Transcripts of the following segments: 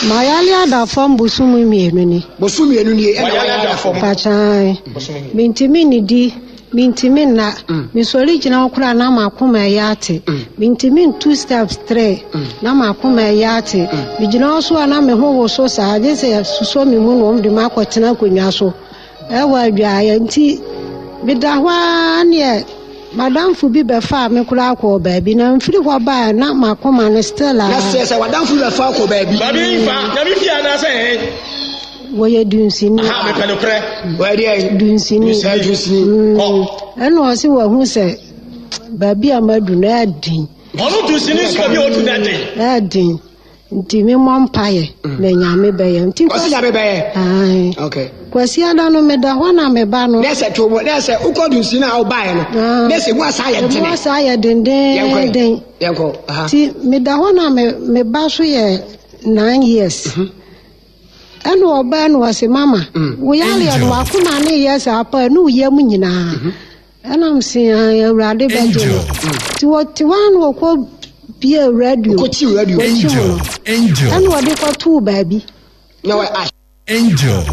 Mayale ada fam bosom mmienu ni. Bosom mmienu nie ɛna wayale ada fam. Pakyan. Mintimi nidi, mintimi nna. Mm. Mesɔre gyina hɔ koraa na m'akoma ɛyɛ ate. Mm. Mintimi ntu steps three mm. na m'akoma ɛyɛ ate. Megyina hɔ so a na me ho woso saa gye sɛ susɔ me mu na wɔn de m'akɔtena akonnwa so. Ɛwɔ adwaeɛ nti meda hɔ ara neɛ madamfo bi bɛfaa me koraa kɔɔ baabi na mfiri hɔ baa na m'akoma no still a. Na sɛ sɛ wadamfo bi bɛfa kɔ baabi. Baabi nfa nyame fie anaasɛ ɛhe. Wɔyɛ dunsini. Aha mepɛ no korɛ. Wɔyɛ deɛ. Dunsini. Dunsini. Kɔ. Ɛna ɔse wahu sɛ baabi a madu no ɛɛden. Ɔno dunsini nso baabi a ɔdu no ɛden. Ɛɛden. Nti me mmɔ mpaeɛ na Nyame bɛyɛ. Nti Ɔsi Nyame bɛyɛ. Ae. Okay. Kwasi ada no meda hɔ na me ba no. Nɛ sɛ to nɛ sɛ wokɔ dunsi na wobaeɛ no. Ah. Nɛ sɛ mu asa ayɛ dene. Mu asa ayɛ dendenden. Yɛnkɔ. Aha. Nti meda hɔ na me me ba so yɛ nine years. Mhm. Ɛna ɔbaa no ɔse mama. Mm. Wo yareɛ no wakoma ne yɛ saa pa ne wo yam nyinaa. Mhm. Ɛna mese ae Awurade bɛgye no. Nti wɔte hɔ a na wɔkɔ bie radio. Wɔkɔkyi radio. Wɔkyi mu no. Angel. Ɛna wɔde kɔtoo baabi. Na wɔ ah. Angel.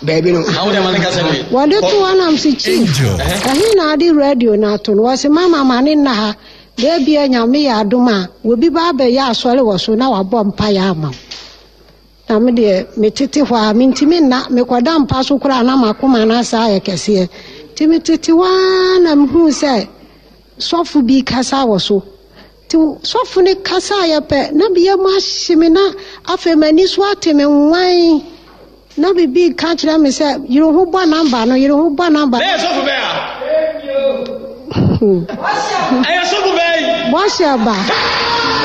Baabi no. Wɔde to hɔ na mese chief. Ɛhe na ade radio no ato no? Wɔse mama ma ne nna ha. Na ebia Nyame yɛ adom a, obi ba abɛyɛ asɔre wɔ so na wabɔ mpaeɛ ama wo. Na me deɛ, metete hɔ ara, mentumi nna. Mekɔda mpa so koraa na m'akoma no asa ayɛ kɛseɛ. Nti metete hɔ ara na mehuu sɛ sɔfo bi kasa wɔ so. Nti sɔfo no kasaeɛ pɛ, na me yam ahye me na afei m'ani so ate me nwan. Na biribi reka kyerɛ me sɛ, yere ho bɔ namba no, yere ho bɔ namba no. Na ɛyɛ sɔfo bɛn a? Ɛyɛ sɔfo bɛn? Bɔhyɛ ba.